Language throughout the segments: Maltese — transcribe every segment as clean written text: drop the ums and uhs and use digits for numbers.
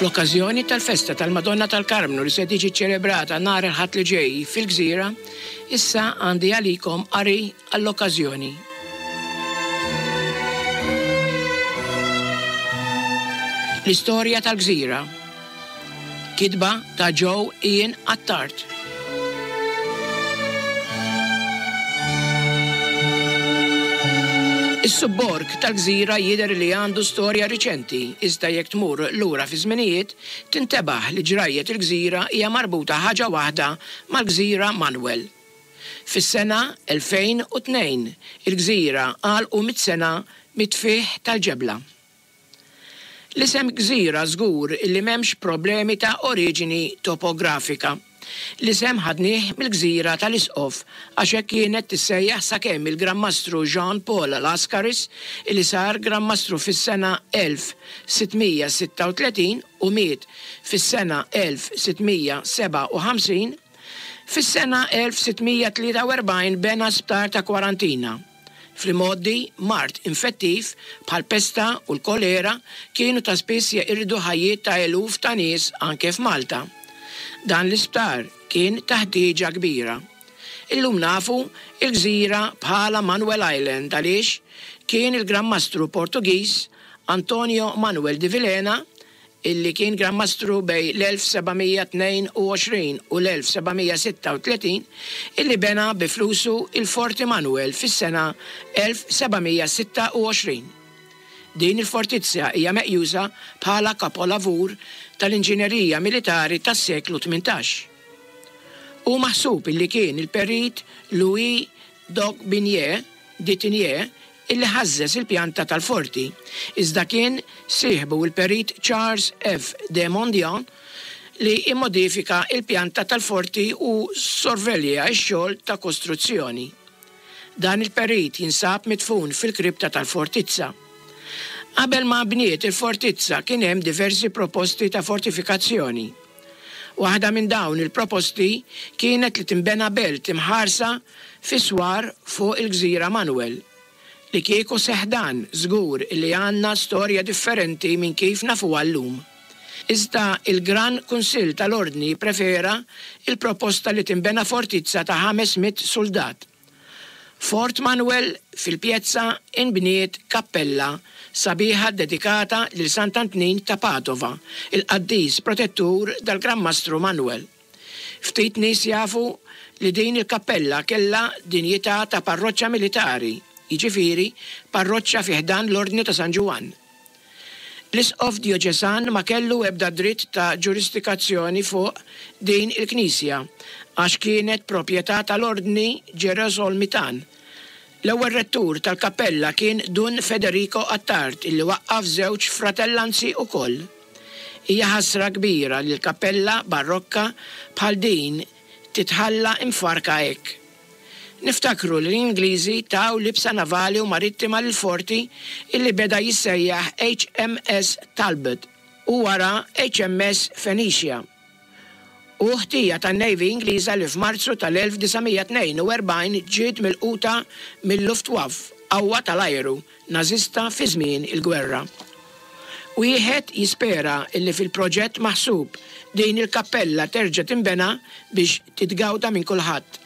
Fl-okkażjoni tal-festa tal-Madonna tal-Karmnu li se tiġi ċċelebrata nhar il-Ħadd li ġej fil-Gżira, issa għandi għalikom qari għall-okkażjoni. L-istorja tal-Gżira. Kitba ta' Joe Ian Attard. Is-subborg tal-gżira jidher li għandu storja riċenti, iżda jekk tmur lura fiż-żminijiet, tintebaħ li ġrajjet il-gżira hija marbuta ħaġa waħda mal-gżira Manuel. Fis-sena 2002, il-gżira għalqu mit-sena mit-tfigħ tal-ġebla. L-isem gżira żgur li m'hemmx problemi ta' oriġini topografika. L-isem ħadnih mill-gżira tal-Isqof għax hekk kienet tissejjaħ sakemm il-Gran Mastru Jean Paul Lascaris li sar Gran Mastru fis-sena 1636 u miet fis-sena 1657, fis-sena 1643 bena sptar ta' kwarantina. Fl-imgħoddi, mard infettiv bħall-pesta u l-kolera kienu ta' spiss jeqirdu ħajjiet ta' eluf ta' nies anke f'Malta. Dan l-isptar kien ta' ħtieġa kbira. Illum nafu l-gżira bħala Manuel Island għaliex kien il-Gran Mastru Portugiż Antonio Manuel de Vilhena illi kien Gran Mastru bejn l-1722 u l-1736, illi bena bi flusu il-Forti Manuel fis-sena 1726. Din il-fortizza hija meqjusa bħala kapolavur tal-inġinerija militari tas-seklu 18. Hu maħsub illi kien il-Perit Louis d'Aubigné de Tigné illi ħażżeż il-pjanta tal-forti, iżda kien sieħbu l-Perit Charles F. de Mondian li immodifika l-pjanta tal-forti u ssorvelja x-xogħol ta' kostruzzjoni. Dan il-perit jinsab midfun fil-kripta tal-fortizza. Qabel ma nbniet il-fortizza kien hemm diversi proposti ta' fortifikazzjoni. Waħda minn dawn il-proposti kienet li tinbena belt imħarsa fi swar fuq il-gżira Manuel. Li kieku seħħ dan, żgur li għandna storja differenti minn kif nafuha llum. Iżda il-Gran Kunsill tal-Ordni pprefera l-proposta li tinbena fortizza ta' 500 suldat. Fort Manuel fil-pjezza inbniet kappella sabiħa ddedikata lil Sant'Antnin ta' Padova, il-qaddis protettur dal-Gran Mastru Manuel. Ftit nies jafu li din il-kappella kellha dinjità ta' parroċċa militari, jiġifieri parroċċa fi ħdan l-Ordni ta' San Ġwann. L-Isqof djoċesan ma kellu ebda dritt ta' ġurisdikazzjoni fuq din il-knisja għax kienet proprjetà tal-Ordni Ġerosolmitan. L-ewwel rettur tal-kappella kien Dun Federico Attard illi waqqaf żewġ fratellanzi ukoll. Hija ħasra kbira li l-kappella barokka bħal din titħalla imfarrka hekk. Niftakru li l-Ingliżi taw libsa navali u marittima lill-forti illi beda jissejjaħ HMS Talbot u wara HMS Phoenicia. Hu ħtija tan-Navy Ingliża li f'Marzu tal-1942 ġiet milquta mil-Luftwaffe, qawwa tal-ajru Nażista fi żmien il-gwerra. Wieħed jispera illi fil-proġett maħsub din il-kappella terġa' tinbena biex titgawda minn kulħadd.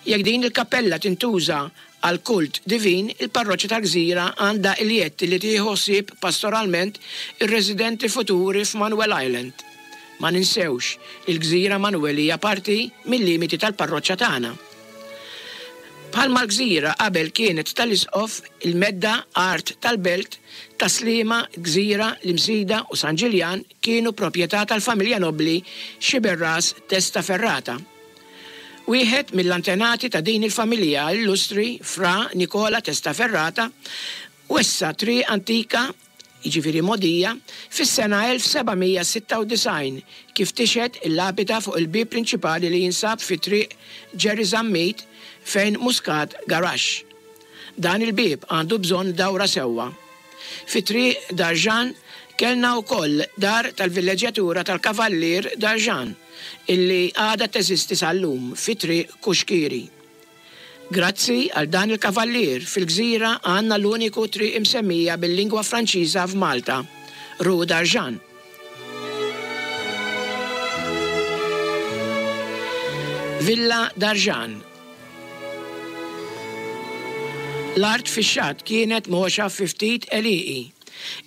Jekk din il-kappella tintuża għall-kult divin, il-parroċċa tal-Gżira għandha l-jedd li tieħu ħsieb pastoralment ir-residenti futuri f'Manuel Island. Ma ninsewx li l-Gżira Manuel hija parti mil-limiti tal-parroċċa tagħna. Bħalma l-Gżira qabel kienet tal-Isqof, il-medda art tal-belt, Tas-Sliema, Gżira, l-Imsida u San Ġiljan kienu proprjetà tal-familja nobbli Sciberras Testaferrata. Wieħed mill-antenati ta' din il-familja illustri, Fra Nicola Testaferrata, wessa' triq antika, jiġifieri mogħdija, fis-sena 1796, kif tixhed il-lapida fuq il-bieb prinċipali li jinsab fi Triq Ġerri Zammit fejn Muscat Garaxx. Dan il-bieb għandu bżonn dawra sewwa. Fi Triq Darjan kellna wkoll dar tal-villeġġjatura tal-Kavallier Darjan illi għadha teżisti sal-lum fi Triq Kuxkieri. Grazzi għal dan il-kavallier fil-gżira għandna l-uniku triq imsemmija bil-lingwa Franċiża f'Malta, Rue Darjan. Villa Darjan. L-art fix-xatt kienet mgħoxa fi ftit għelieqi.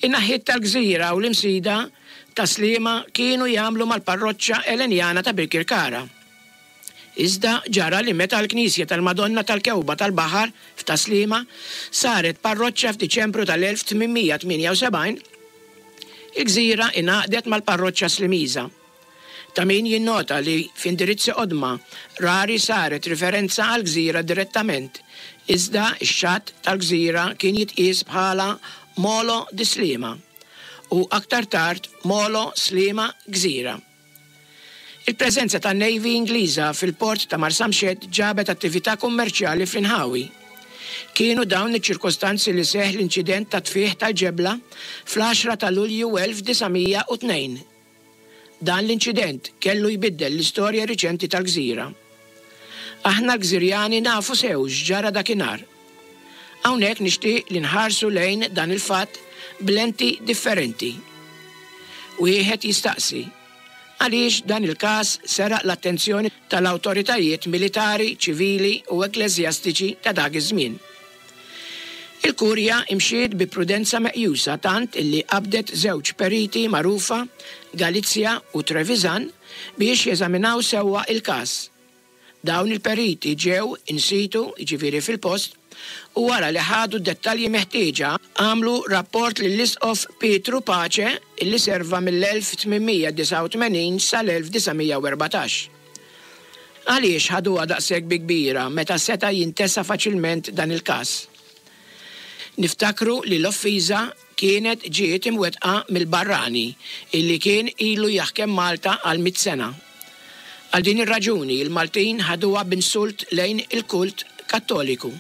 In-naħiet tal-gżira u l-Imsida, Tas-Sliema kienu jagħmlu mal-parroċċa Elenjana ta' Birkirkara. Iżda ġara li meta l-knisja tal-Madonna tal-Kewba tal-Baħar f'Tas-Sliema saret parroċċa f'Diċembru tal-1878, il-gżira ingħaqdet mal-parroċċa Slimiża. Ta' min jinnota li f'indirizzi qodma rari saret riferenza għall-gżira direttament, iżda x-xatt tal-gżira kien jitqies bħala Molo di Sliema u aktar tard Molo Sliema Gżira. Il-preżenza tan-Navy Ingliża fil-port ta' Marsamxett ġabet attività kummerċjali fl-inħawi. Kienu dawn iċ-ċirkostanzi li seħħ l-inċident tat-tfigħ tal-ġebla fl-għaxra ta' Lulju 1902. Dan l-inċident kellu jbiddel l-istorja riċenti tal-gżira. Aħna l-Gżirjani nafu sew x'ġara dakinhar. Hawnhekk nixtieq li nħarsu lejn dan il-fatt b'lenti differenti. Wieħed jistaqsi, għaliex dan il-każ seraq l-attenzjoni tal-awtoritajiet militari, ċivili u ekkleżjastiċi ta' dak iż-żmien? Il-Kurja imxiet bi prudenza meqjusa tant illi qabdet żewġ periti magħrufa, Galizia u Trevisan, biex jeżaminaw sewwa il-każ. Dawn il-periti ġew in situ, jiġifieri fil-post, u wara li ħadu d-dettalji meħtieġa, għamlu rapport lill-Isqof Pietru Pace illi serva mill-1889 sal-1914. Għaliex ħaduha daqshekk bi kbira meta seta' jintesa faċilment dan il-każ? Niftakru li l-offiża kienet ġiet imwettqa mill-barrani illi kien ilu jaħkem Malta għal mitt sena. Għal din ir-raġuni l-Maltin ħaduha b'insult lejn il-kult Kattoliku.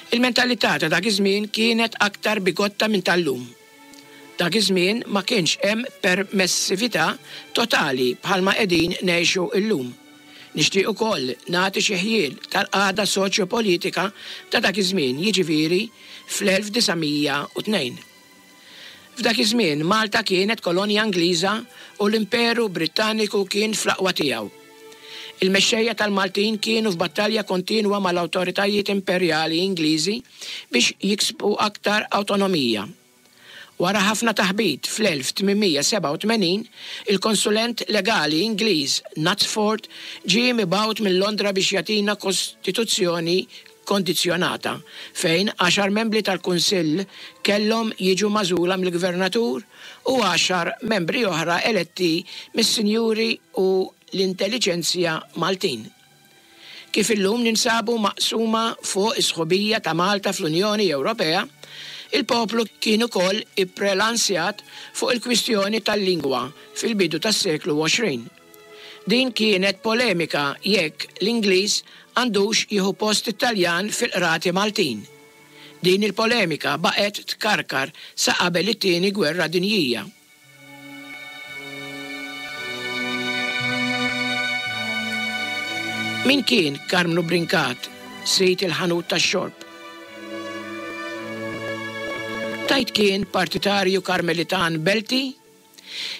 Il-mentalità ta' dak iż-żmien kienet aktar bigotta minn tal-lum. Dak iż-żmien ma kienx hemm permessività totali bħalma qegħdin ngħixu llum. Nixtieq ukoll nagħti xi ħjiel tal-qagħda soċjo-politika ta' dak iż-żmien, jiġifieri fl-1902. F'dak iż-żmien Malta kienet kolonja Ingliża u l-Imperu Brittaniku kien fl-aqwa tiegħu. Il-mexxejja tal-Maltin kienu f'battalja kontinwa mal-awtoritajiet imperjali Ingliżi biex jiksbu aktar awtonomija. Wara ħafna taħbit fl-1887, il-konsulent legali Ingliż Knutsford ġie mibgħut minn Londra biex jagħtina kostituzzjoni kondizzjonata fejn għaxar membri tal-Kunsill kellhom jiġu magħżula mill-Gvernatur u għaxar membri oħra eletti mis-sinjuri u l-intelliġenzja Maltin. Kif illum ninsabu maqsuma fuq is-sħubija ta' Malta fl-Unjoni Ewropea, il-poplu kien ukoll ipprelansjat fuq il-kwistjoni tal-lingwa fil-bidu tas-seklu 20. Din kienet polemika jekk l-Ingliż għandux jieħu post it-Taljan fil-qrati Maltin. Din il-polemika baqgħet tkarkar sa qabel it-Tieni Gwerra Dinjija. Min kien Karmnu Brincat, sid il-ħanut tax-xorb? Tgħid kien partitarju Karmelitan Belti?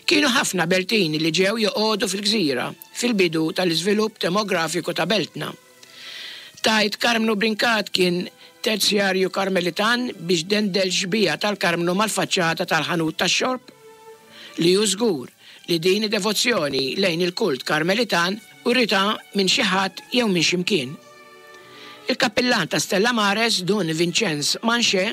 Kienu ħafna Beltin li ġew joqogħdu fil-gżira fil-bidu tal-iżvilupp demografiku ta' beltna. Tgħid Karmnu Brincat kien terzjarju Karmelitan biex dendel xbieha tal-Karmnu mal-faċċata tal-ħanut tax-xorb? Li hu żgur li din id-devozzjoni lejn il-kult Karmelitan uritha minn xi ħadd jew minn xi mkien. Il-kappillan ta' Stella Mares Dun Vinċenz Manché,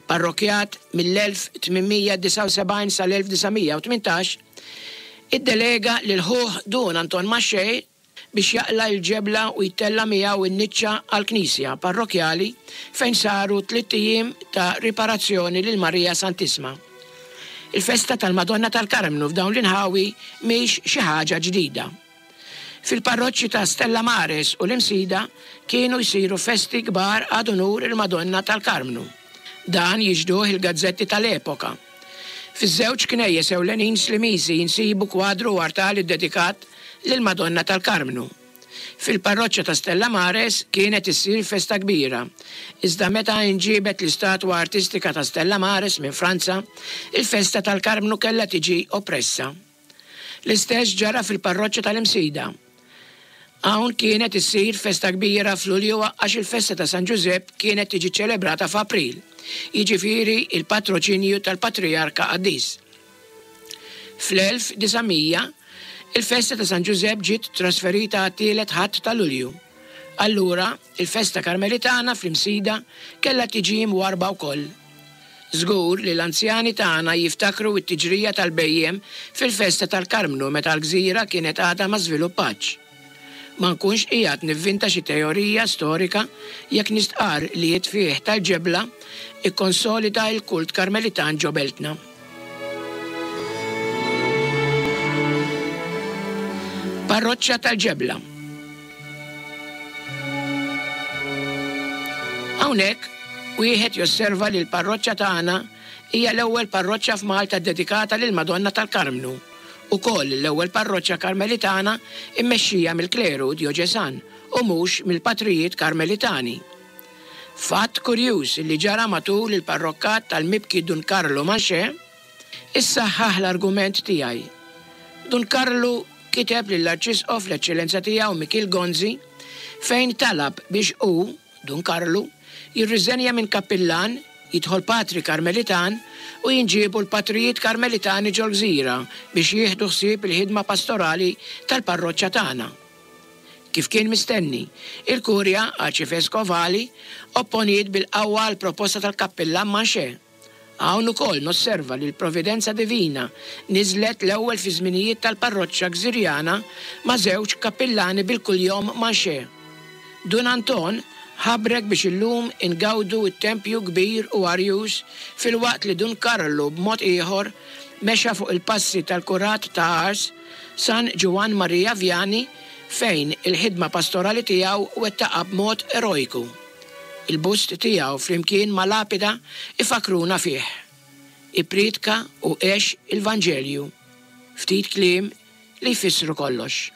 parrokkjat mill-1879 sal-1918, iddelega lil ħuh Dun Anton Manché biex jaqla' l-ġebla u jtella' miegħu n-niċċa għall-knisja parrokkjali fejn saru tlitt ijiem ta' riparazzjoni lil Marija Santissma. Il-festa tal-Madonna tal-Karmnu f'dawn l-inħawi mhix xi ħaġa ġdida. Fil-parroċċi ta' Stella Maris u l-Imsida kienu jsiru festi kbar ad unur il-Madonna tal-Karmnu. Dan jixhduh il-gazzetti tal-epoka. Fiż-żewġ knejjes ewlenin Slimiżi nsibu kwadru u artal iddedikat lill-Madonna tal-Karmnu. Fil-parroċċa ta' Stella Mares kienet issir festa kbira, iżda meta inġiebet l-istatwa artistika ta' Stella Mares minn Franza, il-festa tal-Karmnu kellha tiġi oppressa. L-istess ġara fil-parroċċa tal-Imsida. Hawn kienet issir festa kbira f'Lulju għax il-festa ta' San Ġużepp kienet tiġi ċċelebrata f'April, jiġifieri il-patroċinju tal-Patrijarka Qaddis. Fl-1900, il-festa ta' San Ġużepp ġiet trasferita għat-tielet Ħadd ta' Lulju. Allura, il-festa Karmelitana fl-Imsida kellha tiġi mwarrba wkoll. Żgur li l-anzjani tagħna jiftakru t-tiġrija tal-bhejjem fil-festa tal-Karmnu meta l-gżira kienet għadha ma żviluppatx. Ma nkunx qiegħed nivvinta xi teorija storika jekk nistqarr li t-tfigħ tal-ġebla kkonsolida l-kult Karmelitan ġo beltna. Parroċċa tal-Ġebla. Hawnhekk wieħed josserva li l-parroċċa tagħna hija l-ewwel parroċċa f'Malta ddedikata lill-Madonna tal-Karmnu, ukoll l-ewwel parroċċa Karmelitana mmexxija mill-kleru djoċesan u mhux mill-patrijiet Karmelitani. Fatt kurjuż li ġara matul il-parrokkat tal-mibki Dun Karlu Manché issaħħaħ l-argument tiegħi. Dun Karlu kiteb lill-Arċisqof l-Eċċellenza Tiegħu Mikiel Gonzi fejn talab biex hu, Dun Karlu, jirriżenja minn kappillan, jidħol patri Karmelitan u jinġiebu l-patrijiet Karmelitani ġol-gżira biex jieħdu ħsieb il-ħidma pastorali tal-parroċċa tagħna. Kif kien mistenni, il-Kurja Arċiveskovali opponiet bil-qawwa għall-proposta tal-kappillan Manché. Hawn ukoll nosserva li l-Providenza Divina niżlet l-ewwel fiż-żminijiet tal-parroċċa Gżirjana ma' żewġ kappillani bil-kuljom Manché. Dun Anton ħabrek biex illum ingawdu t-tempju kbir u arjuż filwaqt li Dun Karlu b'mod ieħor mexa fuq il-passi tal-kurat ta' Ars, San Ġwann Maria Vianney fejn il-ħidma pastorali tiegħu wettaqha b'mod erojku. Il-bust tiegħu flimkien ma' lapida jfakkruna fih. Ippriedka u għex il-Vanġelju. Ftit kliem li jfissru kollox.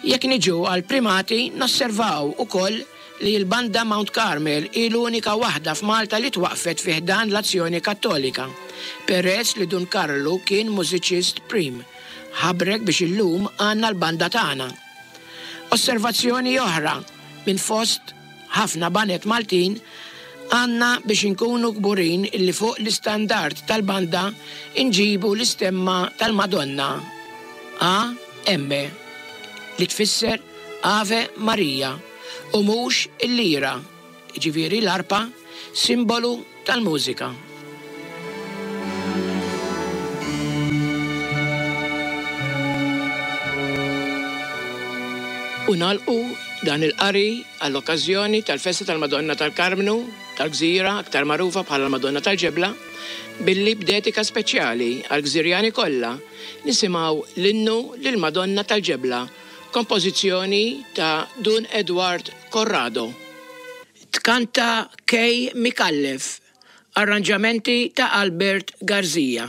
Jekk niġu għall-primati nosservaw ukoll li l-Banda Mount Carmel hi l-unika waħda f'Malta li twaqqfet fi ħdan l-Azzjoni Kattolika, peress li Dun Karlu kien mużiċist prim. Ħabrek biex illum għandna l-banda tagħna. Osservazzjoni oħra minn fost ħafna baned Maltin għandna biex inkunu kburin illi fuq l-istandard tal-banda nġibu l-istemma tal-Madonna, AM, li tfisser Ave Maria u mhux il-lira, jiġifieri l-arpa, simbolu tal-mużika. U nagħlqu dan il-qari għall-okkażjoni tal-festa tal-Madonna tal-Karmnu tal-Gżira, aktar magħrufa bħala l-Madonna tal-Ġebla, billi b'dedika speċjali għall-Gżirjani kollha nisimgħu l-innu lill-Madonna tal-Ġebla, kompożizzjoni ta' Dun Edward Corrado. Tkanta Kay Micallef, arranġamenti ta' Albert Garzia.